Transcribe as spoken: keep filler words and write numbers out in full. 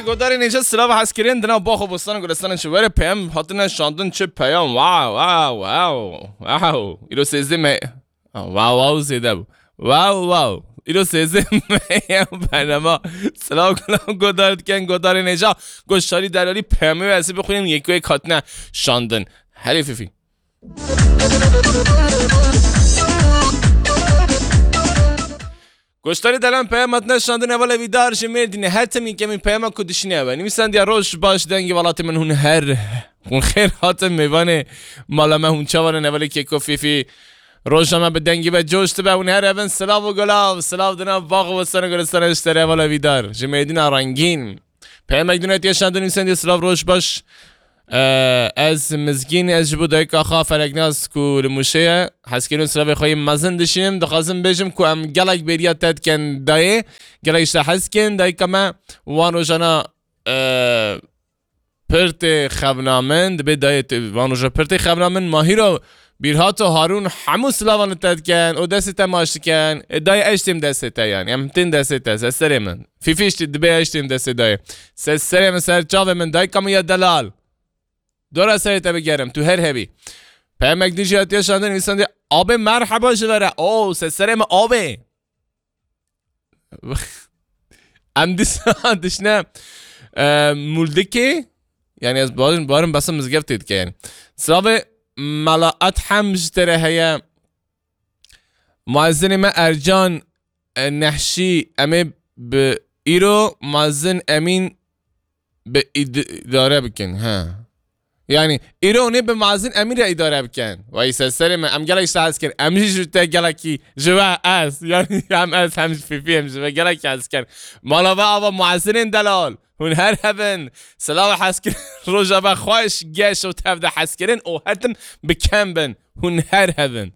Godarê nêja silav hezkirin dina bax û bostan û gulestan çi were peyam hatine şandin çi peyam. Wow, wow, wow, wow. Îro sêzdeh me. Wow, wow zêde bû. Wow, wow. Îro sêzdeh me ya bernama. Silav gulam godar diken godarê nêja. Goştarî delalî peyamê ve ez bixwînim yek wek hatine şandin. Herê Fîfî. Goştarî delan peyama hatine şandin heval Evîdar ji Mêrdînê. Her tim yekemîn peyama ku dişîne ev e. Nivîsandiya roj baş dengê welatê min hûn her, hûn xêr hatin mêvanê mala me hûn çawa ne hevalê Keko Fîfî. Roja me bi dengî ve coş dibe hûn her evin silav û gulav. Silav dina bax û bostan û gulistana ji te re heval Evîdar. Ji Mêrdîna rengîn. Peyamek din hatiye şandin nivîsandiye silav roj baş. Ee, ez Mizgîn, ez ji bo dayika xwe Feleknaz ku li Mûşê ye, hezkirin silavê xwe yê mezin dişînim. Dixwazim bêjim ku em gelek bêriya te dikin dayê, gelek ji te hez dikin. Dayika me wan rojana, e, pir tê xevna min, dibê dayê tê, van roja pir tê xevna min. Mahîro, Bîrhato, Harûn, hemû silavan li te dikin û destê te maç dikin. E, dayê ez jî têm destê te yanî. Em tên destê te, ser serê min. Fîfî jî dibê ez jî têm destê dayê. Ser serê min, ser çavê min, dayika min ya delal. Dora serê te bigerim, tu her hebî. Peyamek din jî hatiye şandin, nivîsandî, "Abê merheba ji ve re." Oo, se serê me abê. Em dîsa dişne, e, Muldikê. Yani ez barin, barin basa mizgeftê dike yani. Silavê Mela Ethem ji te re heye. Muezzinê me Ercan, e, Nehşî, em ê bi îro Muezzin Emîn bi îd-, îdare bikin. He. Yani, îro hûn ê bi Muezzin Emîn re îdare bikin. Wey ser serê me, em gelek ji te hez kin. Em jî ji te gelekî, ji we ez. Yani, hem ez, hem ji Fîfî, hem ji we gelekî hez kin. Mala we ava muezzinên delal. Hûn her hebin. Silav û hezkirin. Roja we xweş, geş û tev de hezkirin û her tim bi kem bin. Hûn her hebin.